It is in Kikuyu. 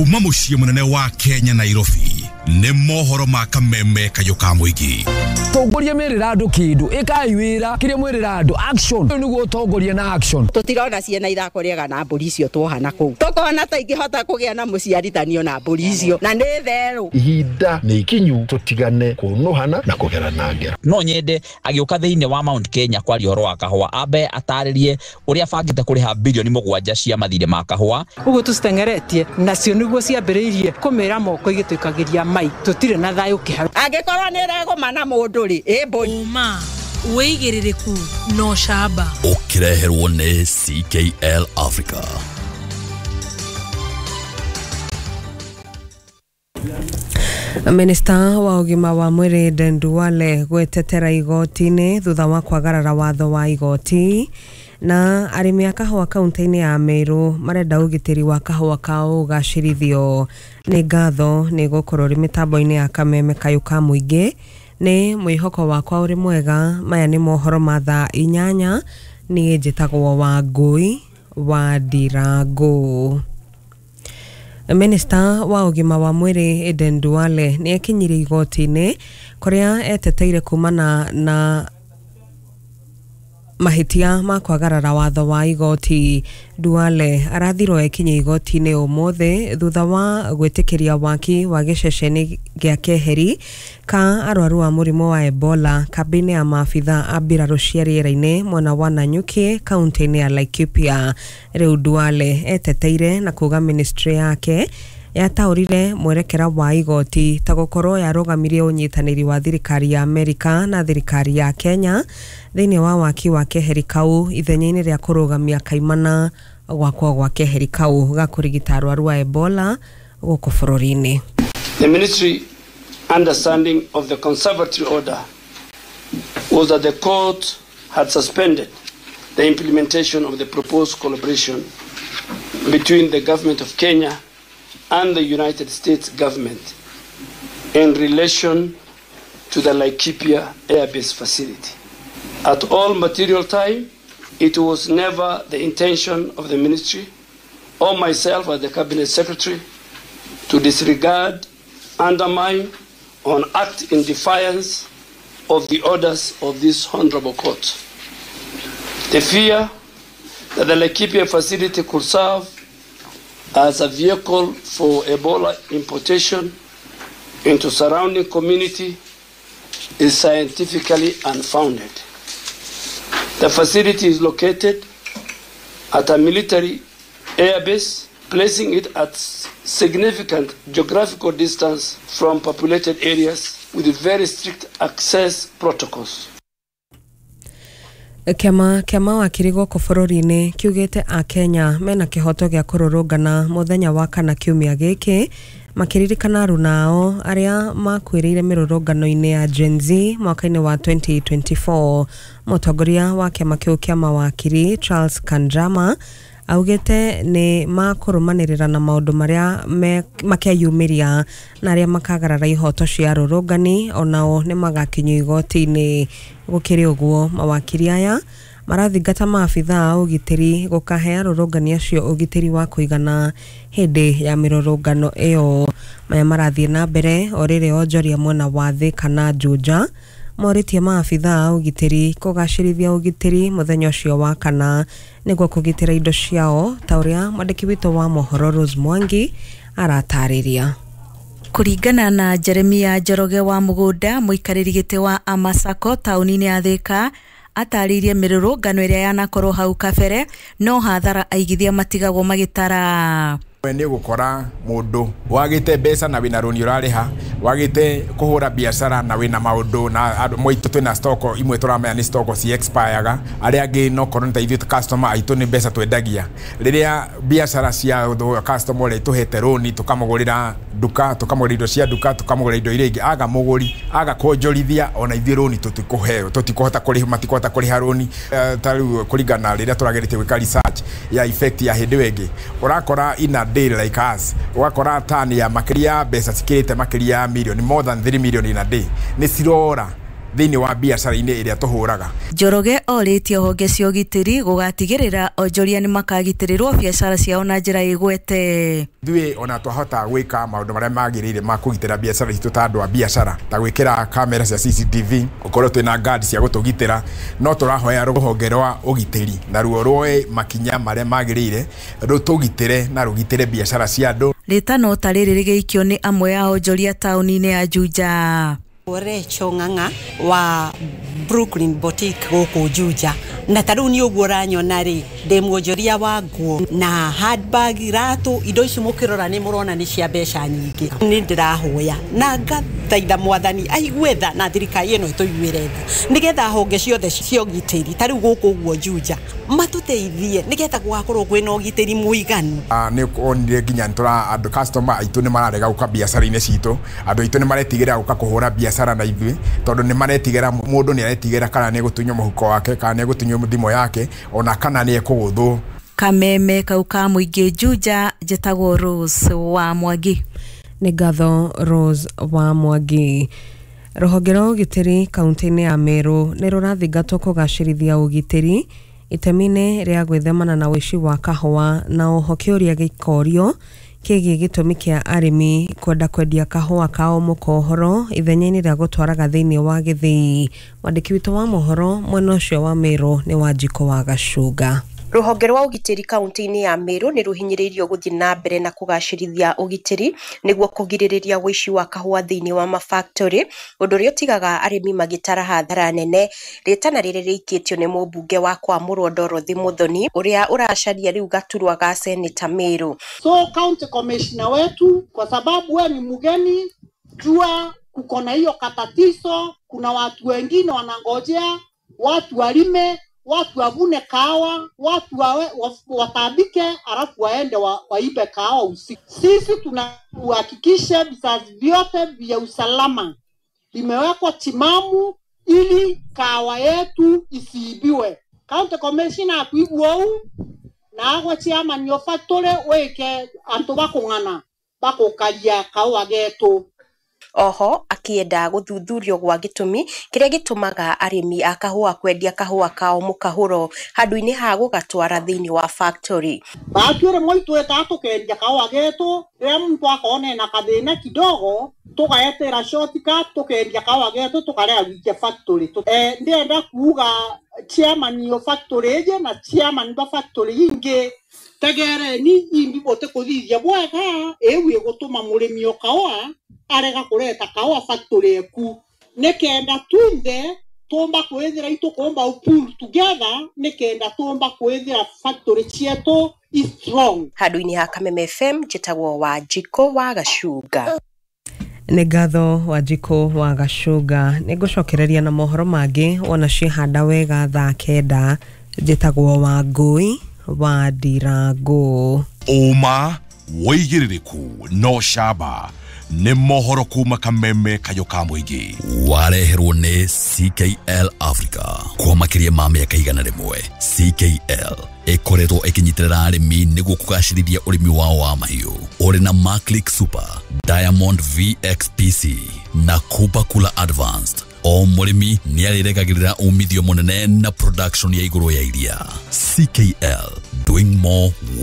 Kuma mũciĩ mũnene wa Kenya Nairobi nĩ mohoro ma kameme kayũ ka mũingĩ. Tongoria merĩra andũ kĩndũ ĩkai wĩra kĩrĩa mwĩrĩra andũ action ũyũ nĩguo ũtongoria na action. Tũtirona ciana ithako rĩega na mbũri icio tuoha na kũu tũkona ta ingĩhota kũgĩa na mũciarithanio na mbũri icio na nĩ therũ. Ihinda nĩ ikinyu tũtigane kũnũhana na kũgerana ngero. No nyende agĩũka thĩinĩ wa Mount Kenya kwaria ũhoro wa kahũa ambe atarĩrie ũrĩa abangĩte kũrĩha bilioni 7 cia mathirĩ ma kahũa. Ũguo tũciteng'eretie nacio nĩguo ciambĩrĩirie kũmĩra moko igĩtũikagĩria mai tũtirĩ na thayũ kĩharo. Angĩkorwo nĩ ĩregũma na mũndũ rĩ ĩ mbũri. Ũma wĩigĩrĩrĩku na ũcamba. Ũkĩreherwo nĩ CKL Africa. Minista wa ũgima wa mwĩrĩ Aden Duale gwetetera igoti-inĩ thutha wa kwagarara watho wa igoti. Na arĩmi a kahũa kaunti-inĩ ya Meru marenda ũgitĩri wa kahũa kao ũgacĩrithio. Nĩ ngatho nĩ gũkorwo ũrĩ mĩtambo-inĩ ya kameme kayũ ka mũingĩ. Nĩ mwĩhoko wakwa ũrĩ mwega. Maya nĩ mohoro ma thaa 8. Niĩ njĩtagwo Wangũi wa Ndirangũ. Minista wa ũgima wa mwĩrĩ Aden Duale nĩ ekinyirie igoti-inĩ kũrĩa eteteire kumana na mahĩtia ma kwagarara watho wa igoti. Duale arathirwo ekinye igoti-inĩ ũmũthĩ thutha wa gwĩtĩkĩria waki wa gĩceceni gĩa keheri ka arwaru a mũrimũ wa Ebola kambĩ-inĩ ya maabitha a mbirarũ cia rĩera-inĩ mwena wa Nanyuki kaunti-inĩ ya Laikipia. Rĩu Duale eteteire na kuga ministry yake yataũrire mwerekera wa igoti ta gũkorwo yarũgamirie ũnyitanĩri wa thirikari ya Amerika na thirikari ya Kenya thĩinĩ wa waki wa keheri kau ithenya-inĩ rĩa kũrũgamia kaimana gwakwo gwa keheri kau ga kũrigita arwaru a Ebola gũkũ bũrũri-inĩ. The ministry understanding of the conservatory order was that the court had suspended the implementation of the proposed collaboration between the government of Kenya and the United States government in relation to the Laikipia Airbase facility. At all material time, it was never the intention of the ministry or myself as the cabinet secretary to disregard, undermine, or act in defiance of the orders of this honorable court. The fear that the Laikipia facility could serve as a vehicle for Ebola importation into surrounding community is scientifically unfounded. The facility is located at a military airbase, placing it at significant geographical distance from populated areas with very strict access protocols. Kĩama kĩa mawakiri gũkũ bũrũri-inĩ kiugĩte a Kenya mena kĩhoto gĩa kũrũrũngana mũthenya wa kana kiumia gĩkĩ makĩririkana aruna ao arĩa makuĩrĩire mĩrũrũngano-inĩ ya Gen Z mwaka-inĩ wa 2024. Mũtongoria wa kĩama kĩu kĩa mawakiri Charles Kanjama augĩte nĩ makũrũmanĩrĩra na maũndũ marĩa makeyumĩria na arĩa makagarara ihoto cia arũrũngani onao nĩ magakinyio igoti-inĩ. Gũkĩrĩ ũguo mawakiri aya marathingata maabitha a ũgitĩri gũkahe arũrũngani acio ũgitĩri wa kũigana hĩndĩ ya mĩrũrũngano ĩyo. Maya marathiĩ na mbere o rĩrĩ onjoria mwena wa Thika na Juja morĩtie maabitha a ũgitĩri kũgacĩrithia ũgitĩri mũthenya ũcio wa kana nĩguo kũgitĩra indo ciao ta ũrĩa mwandĩki witũ wa mohoro Rose Mwangi aratarĩria. Kũringana na Jeremia Njoroge wa Mũgũnda, mũikarĩri gĩtĩ wa Amasako taũni-inĩ ya Thika, atarĩirie mĩrũrũngano ĩrĩa yanakorwo hau kabere no hathara aigithia matigagwo magĩtara. Nĩ gũkora mũndũ wagĩte mbeca na wĩna rũni ũrarĩha, wagĩte kũhũra biacara na wĩna maũndũ na andũ moitũ twĩna stock imwe tũramenya nĩ stock ci expireaga, arĩa angĩ no korwo nĩ ta ithuĩ customer aitũ nĩ mbeca twendagia. Rĩrĩa biacara cia customer ũrĩa tũhete rũni tũkamũgũrĩra nduka, tũkamũgũrĩra indo cia nduka, tũkamũgũrĩra indo iria ingĩ, aga mũgũri aga kuonjorithia ona ithuĩ rũni tũtikũheo, tũtikũhota kũrĩha, matikũhota kũrĩha rũni. Ta rĩu kũringana rĩrĩa tũrageretie gwĩka research ya effect ya hĩndĩ ĩyo ĩngĩ, ũrakora in a day like us ũgakora tani ya makĩria mbeca cikĩrĩte makĩria ya million, more than 3 million in a day nĩ cirora thĩinĩ wa biacara-inĩ ĩrĩa tũhũraga. Njoroge orĩtie honge cia ũgitĩri gũgatigĩrĩra onjoria nĩmakagitĩrĩrwo biacara ciao na njĩra ĩgwete. Ithuĩ ona twahota gwĩka maũndũ marĩa magĩrĩire ma kũgitĩra biacara citũ ta andũ a biacara, ta gwĩkĩra kamera cia CCTV, gũkorwo twĩna guard cia gũtũgitĩra, no tũrahoya rũhonge rwa ũgitĩri naruo rwoe makinya marĩa magĩrĩire rũtũgitĩre na rũgitĩre biacara cia andũ. Rĩtano ta rĩrĩ rĩgĩikio nĩ amwe a onjoria taũni-inĩ ya Juja. Recho Ng'ang'a wa Brooklyn Boutique gũkũ Juja, na ta rĩu nĩ ũguo ũranyona rĩ, ndĩ mwonjoria wa nguo na handbag, iratũ, indo ici mũkĩrora nĩ mũrona nĩ cia mbeca nyingĩ. Nĩ ndĩrahoya na ngathaitha mwathani aigue tha na thirikari ĩno ĩtũiguĩre tha, nĩgetha honge ciothe cia ũgitĩri ta rĩu gũkũ ũguo Juja matũteithie nĩgetha gũgakorwo kwĩna ũgitĩri mũiganu. Nĩ onire nginya nĩtũra andũ customer aitũ nĩ mararega gũka biacara-inĩ citũ, andũ aitũ nĩ maretigĩra gũka kũhũra biacara na ithuĩ tondũ nĩ maretigĩra, mũndũ nĩ aretigĩra kana nĩ egũtunywo mũhuko wake, kana nĩ egũtunywo thimũ yake, ona kana nĩ ekũgũthwo. Kameme kau ka mũingĩ Juja, njĩtagwo Rose wa Mwangi. Nĩ ngatho Rose wa Mwangi. Rũhonge rwa ũgitĩri kaunti-inĩ ya Meru nĩ rũrathingatwo kũgacĩrithia ũgitĩri itemi-inĩ rĩa gwĩthemana na ũici wa kahũa, na oho kĩũria gĩkorio kĩgiĩ gĩtũmi kĩa arĩmi kwenda kwendia kahũa kao mũkohoro ithenya-inĩ rĩa gũtwaraga thĩinĩ wa gĩthĩi. Mwandĩki witũ wa mohoro mwena ũcio wa Meru nĩ Wanjikũ wa Gacunga. Rũhonge rwa ũgitĩri kaunti-inĩ ya Meru nĩ rũhinyĩrĩirio gũthiĩ na mbere na kũgacĩrithia ũgitĩri nĩguo kũgirĩrĩria ũici wa kahũa thĩinĩ wa mafactory, ũndũ ũrĩa ũtigaga arĩmi magĩtara hathara nene. Rĩtana rĩrĩ rĩikĩtio nĩ mũmbunge wa Kwamũrwo Dorothy Muthoni ũrĩa ũracaria rĩu gaturwa ga seneta Meru. So county commissioner wetu, kwa sababu we ni mgeni, jua kuko na hiyo katatizo, kuna watu wengine wanangojea watu walime, watu wavune kahawa, watu watandike, alafu waende waibe kahawa usiku. Sisi tunahakikisha vizazi vyote vya usalama vimewekwa timamu ili kahawa yetu isiibiwe. County Commissioner akuigua ou na agwa chairman yo factory weke antu bakung'ana bakukaria kahawa getu. Oho akienda gũthuthurio gwa gĩtũmi kĩrĩa gĩtũmaga arĩmi a kahũa kwendia kahũa kao mũkahũro handũ-inĩ ha gũgatwara thĩinĩ wa factory. Batuĩre moitwĩtaga tũkendia kahũa getũ, rĩrĩa mũndũ akona ena kathĩna kidogo tũgaetera shortcut tũkendia kahũa getũ tũkarega gũikia factory. Ndĩrenda kuga chairman yo factory ĩje na chairman ba factory ingĩ tegereni imbi bote kũthithia bwega ĩu ĩgũtũma mũrĩmi o kahũa arega kureta kawa factory eku nikenda tunde tumba kwithira itukumba pull together nikenda tumba kwithira factory cietu is strong. Handũ-inĩ ha Kameme FM njĩtagwo Wanjikũ wa Gacunga. Nĩ ngatho Wanjikũ wa Gacunga. Nĩ ngũcokereria na mohoro mangĩ wona ciehanda wega thaa 9. Njĩtagwo Wangũi wa Ndirangũ. Ũma wĩigĩrĩrĩku no camba nĩ mohoro kuma Kameme kayo ka mũingĩ. Wareherwo nĩ CKL Africa kwa makĩria ma mĩaka 100. CKL ĩkoretwo ĩkĩnyitĩrĩra arĩmi nĩguo kũgacĩrithia ũrĩmi wao wa mahiũ. Ũrĩ na Maclick Super, Diamond VXPC na Kupa Kula Advanced. O mũrĩmi nĩarĩrekagĩrĩra umithio mũnene na production ya igũrũ ya iria. CKL, doing more.